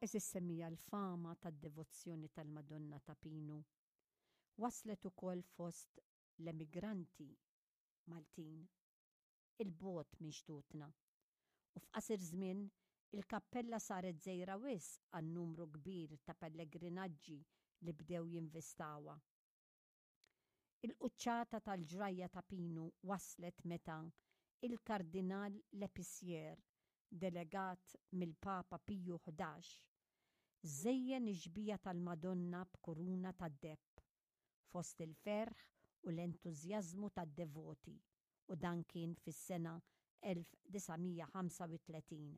Għeżież semmiegħa l-fama tad-devozzjoni tal-Madonna ta' Pinu waslet ukoll fost l-emigranti Maltin 'il bogħod minn xtutna u f'qasir żmien il-kappella saret żgħira wisq għan-numru kbir ta' pellegrinaġġi li bdew jinvistawha. Il-quċċata tal-ġrajja ta' Pinu waslet meta il-Kardinal Lepicier, delegat mill-Papa Piju 11, żejjen ix-xbieha tal-Madonna b'kuruna tad-deheb, fost il-ferħ u l-entużjażmu tad-devoti u dan kien fis-sena 1935.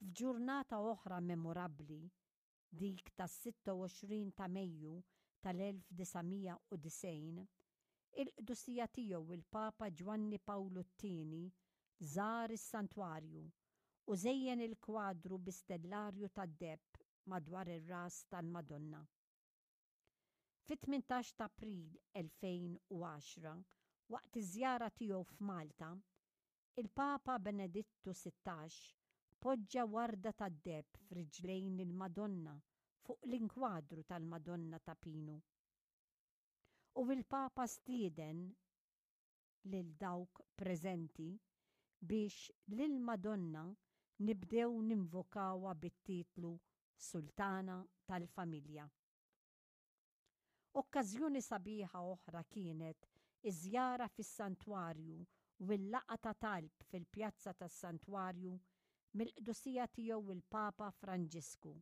F'ġurnata oħra memorabbli, dik tas-26 ta' Mejju tal-1990, il-Qdusija Tiegħu il-Papa Ġwanni Pawlu t-Tieni żar is-Santwarju u żejjen il-kwadru bi stellarju tad-deheb madwar ir-ras tal-Madonna. Fit-18 ta' April 2010, waqt iż-żjara tiegħu f'Malta, il-Papa Benedittu 16 poġġa warda tad-deheb f'riġlejn il-Madonna fuq l-inkwadru tal-Madonna ta' Pinu. U il-Papa stieden lil dawk preżenti biex lill-Madonna nibdew ninvokawha bit-titlu Sultana tal-Familja. Okkażjoni sabiħa oħra kienet iż-żjara fis-Santwarju u l-laqgħa ta' talb fil-pjazza tas-Santwarju mill-Qdusija Tiegħu l-Papa Franġisku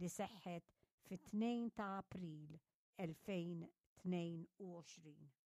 li seħħet fit-2 ta' April 2022.